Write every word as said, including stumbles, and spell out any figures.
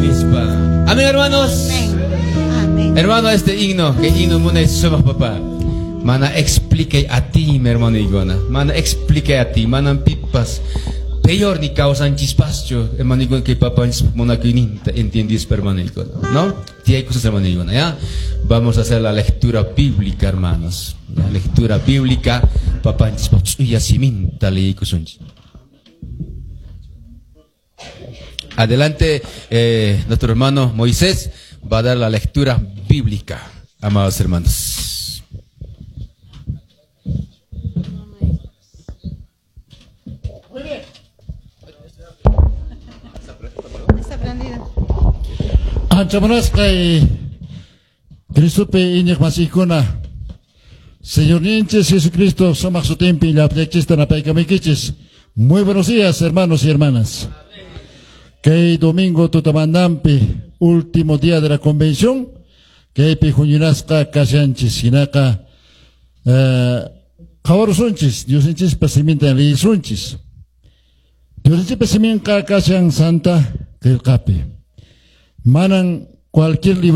Nispa. Amén, hermanos. Amén. Amén. Hermano, este himno, que himno munay sumaq papá. Mana explique a ti, mi hermano Igona. Mana explique a ti, mana pipas. Peor ni kawsanchispaschu, hermano Igona, que papá munakuyninta entiendis, hermano Igona. ¿No? Sí hay cosas, hermano Igona, ¿ya? Vamos a hacer la lectura bíblica, hermanos. La lectura bíblica, papá ch'uya siminta leykusunchis. Adelante, eh, nuestro hermano Moisés va a dar la lectura bíblica, amados hermanos. Muy bien. Está prendido. Ancha munasqay Cristopi iñiq masiykuna, Señorninchis Jesucristo sumaq sutinpi llapllachista napaykamaykichis. Muy buenos días, hermanos y hermanas. Kay domingo tutamandampi, último día de la convención, kaypi huñunasqa kashanchis, hinaqa eh, qhawarusunchis, Diosninchispa siminta leyisunchis. Diosninchispa siminqa kashan Santa Qillqapi. Manan cualquier libro